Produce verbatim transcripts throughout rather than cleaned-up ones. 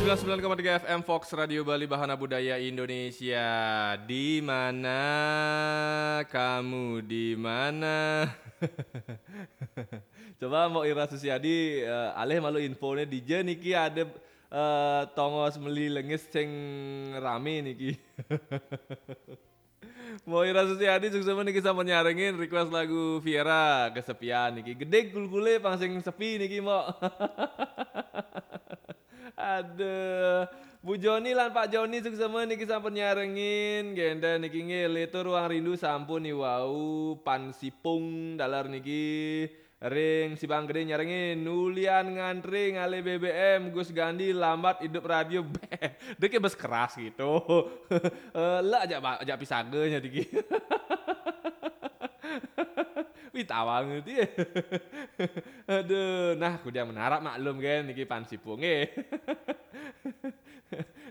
Sembilan sembilan koma tiga F M Fox Radio Bali, Bahana Budaya Indonesia. Di mana kamu, di mana? Coba Mbok Ira Susiadi, eh, alih malu infone, dija niki ada, eh, tongos meli lengis sing rame niki. Mbok Ira Susiadi, suksema niki sampun nyarengin request lagu Viera, Kesepian niki. Gedeg kulkule pang sing sepi niki, Mbok. Aduh. Bu Joni lan Pak Joni, suksema niki sampun nyarengin. Genten niki nggih, Leto Ruang Rindu sampun niwau, Pan Sipung dalar niki. Ring Sibang Gede nyarengin, nulian ngantri ngalih B B M, Gus Gandhi lambat idup radio. Beh, dia kayak bes keras gitu. Eh, lah ajak ba-, ajak pisaganya dikit. Wih, tawang gitu ya. Aduh, nah, kudiang menarap maklum kan, niki Pan Sipung, eh.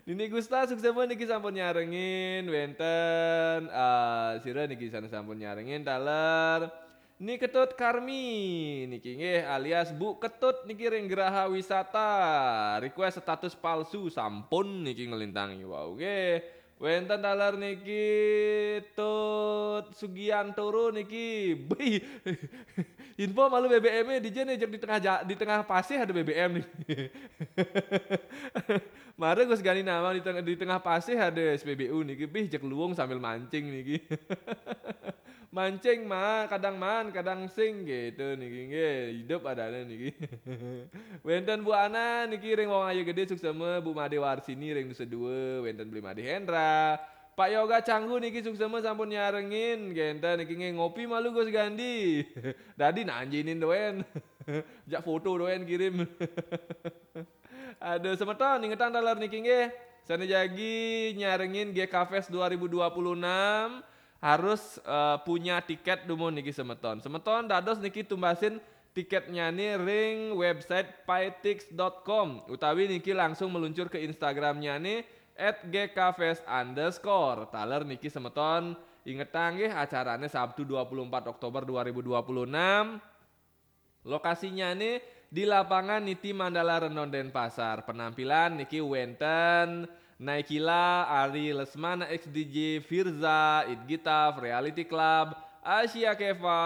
Nini Gusta, suksema niki sampun nyarengin, wenten, eh, sira niki sana sampun nyarengin, taler. Ni Ketut Karmi, niki nggih, alias Bu Ketut niki ring Geraha Wisata. Request status palsu, sampun niki ngelintangi. Wau nggih. Wenten taler niki Tut Sugiantoro niki. Bih. Info malu B B M-e dija nih, jek di tengah ja-, di tengah pasih ada B B M nih. Mare Gus Gani nawang di tengah, di tengah pasih ada S P B U niki. Bih, jek luung sambil mancing niki. Mancing mah, kadang man, kadang sing gitu niki nggih. Hidup adanya niki. Wenten Bu Ana niki ring Wong Ayu Gede, suksema, Bu Made Warsini ring Nusa Dua, wenten Beli Made Hendra. Pak Yoga Canggu niki suksema sampun nyarengin, genten niki nggih, ngopi malu Gus Gandhi. Dadi nanjinin doen. Jak foto doen kirim. Aduh, semeton, ingetang taler niki nggih. Sane jagi nyarengin G K Fest dua ribu dua puluh enam harus, eh, punya tiket dumun niki semeton. Semeton dados niki tumbasin tiketnyane ring website pytix dot com utawi niki langsung meluncur ke Instagramnyane at G K fest underscore. Taler niki semeton ingetang nggih, acarane Sabtu dua puluh empat Oktober dua ribu dua puluh enam. Lokasinyane di lapangan Niti Mandala Renon Denpasar. Penampilan niki wenten Naikila, Ari Lesmana, X D J, Firza, It Gitaf, Reality Club, Asia Keva,